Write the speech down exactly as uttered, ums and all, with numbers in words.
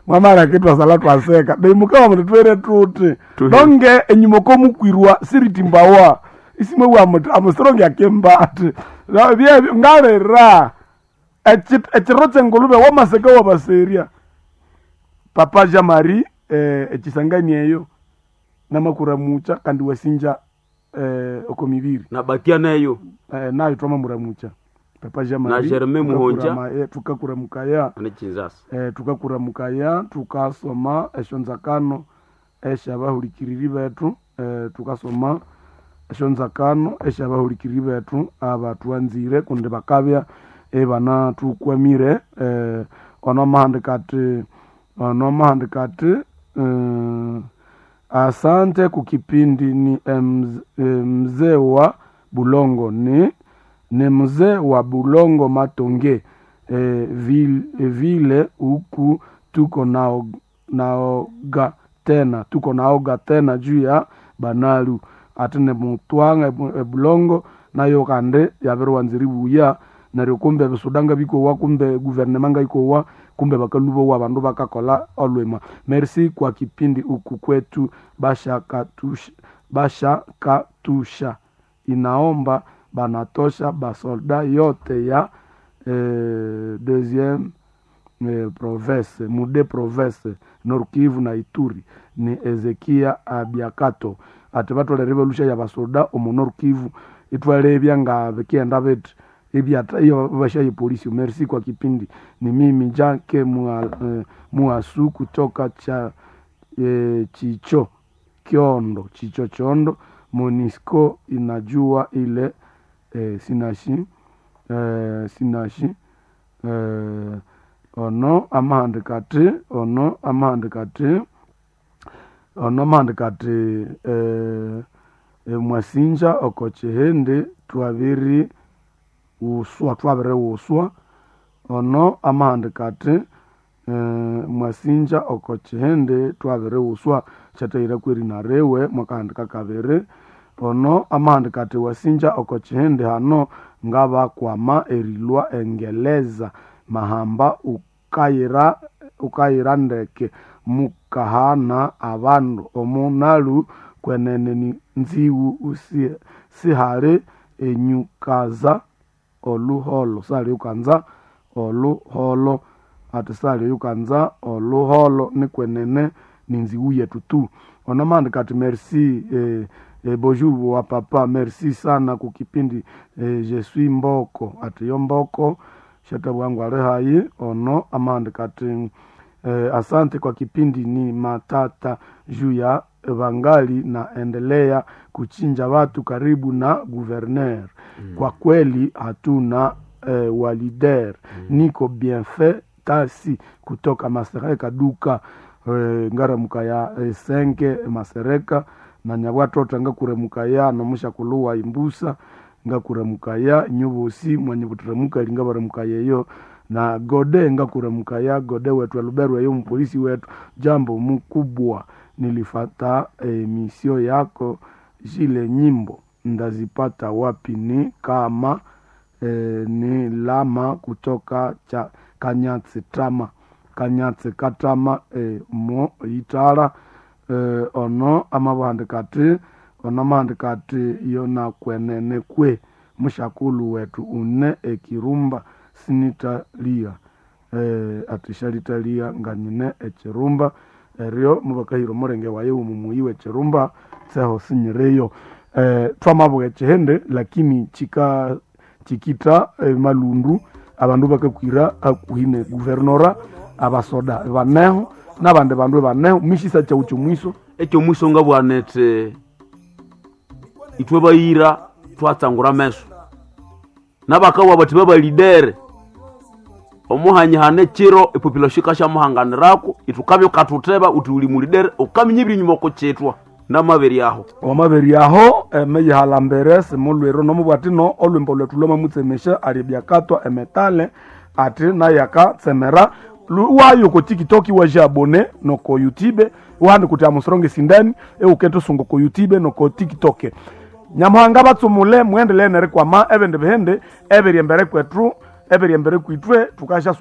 Mwamara kitwasala twaseka neimukawa muti twere tuti Tuhe. donge enyuma komukwirwa siritimbawa isimwe wa muti amusironge akemba ati "Na- bye- ngalera Echi- ekiro kyengulube wamaseka wabaserya papa Jean Marie eh, ekisangani eyo namakuramucha kandi wasinja eh, oko mibiri Nabakia neyo eh, nayo twamamuramucha papa Jean Na Marie Germain Muhonja. eh, tukakuramukaya ane Kinshasa. eh, tukakuramukaya tukasoma esyonzakano esyabahulikiriri bethu eh, tukasoma esyonzakano esyabahulikiriri bethu abatwanzire kundi bakabya ibanathukwamire eh, ono amahandika ati ono amahandika ati eh, asante kukipindi ni mz- eh, mzee wa Bulongo ni ni mzee wa Bulongo Matonge eh, vile, vile huku tuko nao naoga tena tuko naoga tena juu ya banalu ate ne mutwanga ebu- ebulongo nayo kandi yabiriwanzira ibuya neryo kumbe ebisudanga bikowa kumbe guvernema ngaikowa kumbe bakalubowa abandu bakakola olwima merci kwa kipindi huku kwetu bashakatusha bashakatusha inaomba banatosha basolda yote ya eh, deuxième eh, province mude province Nord Kivu na Ituri ni Ezekia Abiakato ati batolere belusha ya basoda omu Nord Kivu itwalebya nga bikienda biti ibyata iyo bashaye polisi merci kwa kipindi ni mimi Jake mua, eh, Muasu kutoka cha eh, Chicho Kiondo Chicho Chondo Monisco inajua ile eh, sinashi eh, sinashi eh, ono amahandika ati ono amahandika ati ono amahandika ati eh, eh, mwasinja oko chihindi twabiri wuswa twabiri wuswa ono amahandika ati eh, mwasinja oko chihindi twabiri wuswa kyatahira kweri riwe mwakahandika kabiri ono amahandika ati wasinja oko chihindi hano ngabakwama erilwa engeleza mahamba ukayira ukayira ndeke mukahana abandu omunalu kwenene ni nziwu usi sihali enyukaza oluholo sali ukanza oluholo ati sali ukanza oluholo nikwenene ni nziwu yetu tu onomandika ati merci eh, eh, bonjour wa papa merci sana kukipindi eh, je suis mboko ati yo mboko shatabwangu ali hayi ono amandika ati eh, asante kwa kipindi ni matata juu ya vangali naendelea kuchinja watu karibu na guverner mm. Kwa kweli hatuna eh, walider mm. Niko bienfait tasi kutoka Masereka duka eh, ngaramuka ya eh, senke Masereka na nyabwatota ngakuremuka ya nomushakuluwa imbusa ngakuremuka ya nyubusi mwanyibuturemuka lingabaremuka yeyo na gode ngakuremuka ya gode wetu aluberwa yo mpolisi wetu jambo mkubwa nilifata eh, misio yako zile nyimbo ndazipata wapi ni kama eh, ni lama kutoka cha kanyatsi tama kanyatsi katama eh, mo itara eh, ono amabuhandika ati ono amahandika ati yona kwenene kwe mushakulu wetu une ekirumba sinitalia eh, ati shalitalia nga nyine ekirumba eryo mubakahira omurenge waye womumuyi wekirumba tseho sinyireyo eh, twamabuga ekihende lakini chika chikita eh, malundu abandu bakakwira hakuhi ne guvernora abasoda baneho nabandi bandu baneho mishisa chau chomwiso ekyo mwiso ngabwanete itwe bayira twatsangura meso nabakawa bati babalidere omuhanyihana ekiro epopulation ikasyamuhanganirako ithukabya ukathutheba uthi uli mulidere ukaminya ebiri nyuma okukyithwa namabiri aho wamabiri aho emeyihala mbere simulwiro nomubwati no olwimbo lwethu lwamamutsemesha ali byakatwa emetale ati naye akatsemera Lu- wayo ko tiktok waje abone noko youtube wahandi kuti amusoronge sindani eukete sungo ko youtube noko tiktok nyamuhanga batsumule muendelee nerikwama ebindi bihindi ebiri embere kwethu ebiri embere kwitwe tukasha